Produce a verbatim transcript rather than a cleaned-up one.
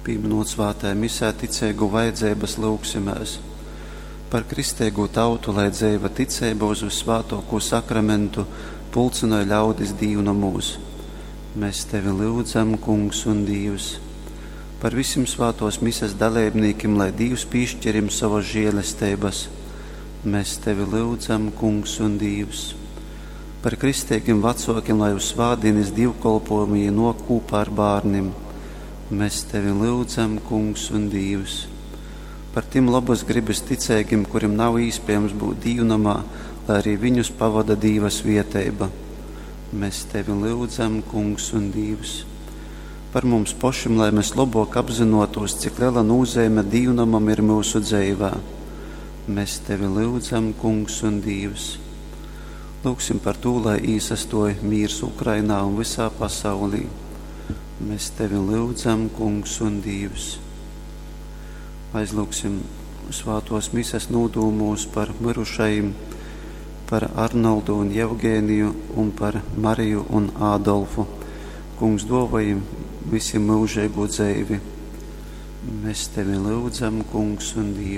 Pīminot svātajā misē ticeigu vajadzeibas, lyugsimēs par kristeigū tautu, lai dzeiva ticeiba uz vyssvātōkū sakramentu pulcynoj ļaudis dīvnomūs. Mēs tevi lyudzam, Kungs un Dīvs. Par visim svātōs mises daleibnīkim, lai Dīvs pīšķir jim sovas žēlesteibas. Mēs tevi lyudzam, Kungs un Dīvs. Par kristeigim vecōkim, lai uz svātdīnes dīvkolpojumu jī nōk kūpā ar bārnim. Mēs tevi lyudzam, Kungs un Dīvs. Par tim lobas gribas ticeigim, kurim nav īspējams būt dīvnomā, lai arī viņus pavada Dīva svieteiba. Mēs tevi lyudzam, Kungs un Dīvs. Par mums pošim, lai mēs labāk apzinotos, cik liela nozīme dīvnomam ir mūsu dzīvē. Mēs tevi lyudzam, Kungs un Dīvs. Lūgsim par to, lai īsastoja mīrs Ukrainā un visā pasaulī. Mēs tevi lyudzam, Kungs un Dīvs. Aizlūgsim svātos mises nūdūmūs par mirušajiem, par Arnoldu un Jevgēniju un par Mariju un Ādolfu. Kungs dāvājam visiem mūžīgo dzīvi. Mēs tevi lūdzam, Kungs un Dievs.